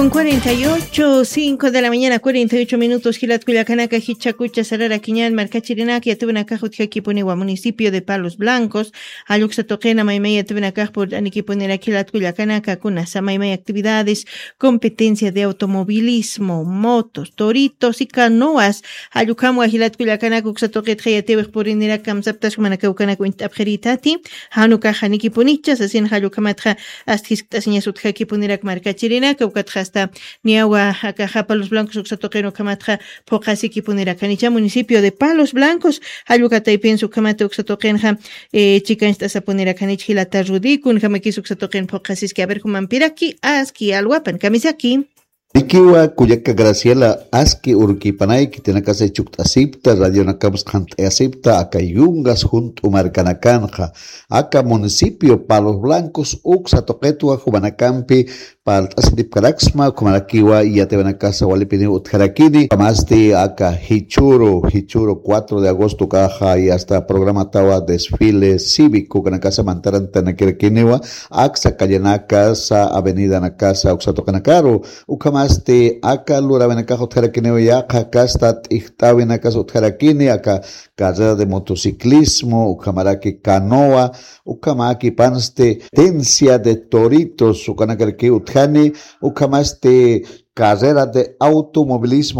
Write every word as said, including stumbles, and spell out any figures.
Con cuarenta y ocho, cinco de la mañana, cuarenta y ocho minutos, jilat kullakanaka, jichhakucha sararakiñan markachirinaka, yatipinakax utjakipuniwa municipio de Palos Blancos, jalluksa tuqina maymay yatipinakax purt'anikipuniraki jilat kullakanaka, kunasa maymay actividades, competencia de automovilismo, motos, toritos y canoas, jallukhamwa jilat kullakanaka uksa tuqitxa yatiwix purinirak kamsaptas jumanaka ukanak uñt'apxirïtati, jan ukaxa nikipunichas, sasin jallukhamatxa ast jiskt'asiñas utjakipunirak markachirinaka, ukatxa asta niyawa akaxa Palos Blancos uksa tuqin ukhamatxa phuqhasikipunirakanicha municipio de Palos Blancos, jallukataypinsa ukhamata uksa tuqinxa, eh, chikancht'asapunirakanich jilata Rudy, kunjamakis uksa tuqin phuqhasiski, a ver, jumampiraki, aski alwapan, kamisaki. Nikiwa kullaka Graciela, aski urkipanayki, tinakasa chukt'asipta, radionakapas qhant'ayasipta, aka yungas junt'u markanakanxa, aka municipio Palos Blancos, uksa tuqitwa jumanakampi, parlt'asitipkaraksma, jumanakiwa yatipinakasa walipiniw utjarakini, ukhamasti aka jichhüru, jichhüru cuatro de agosto ukaxa, y hasta programatawa desfile cívico, ukanakasa mantarantanakarakiniwa, aksa callenakasa, avenidanakasa, uksa tuqinakaru, ukhamasti aka luräwinakax utjarakiniw yaqha kasta t'ijt'äwinakas utjarakini, aka carrera de motociclismo, ukhamaraki canoa, ukhamäkipansti tencia de toritos, ukanakarakiw utjani, ukhamasti carrera de automovilismo,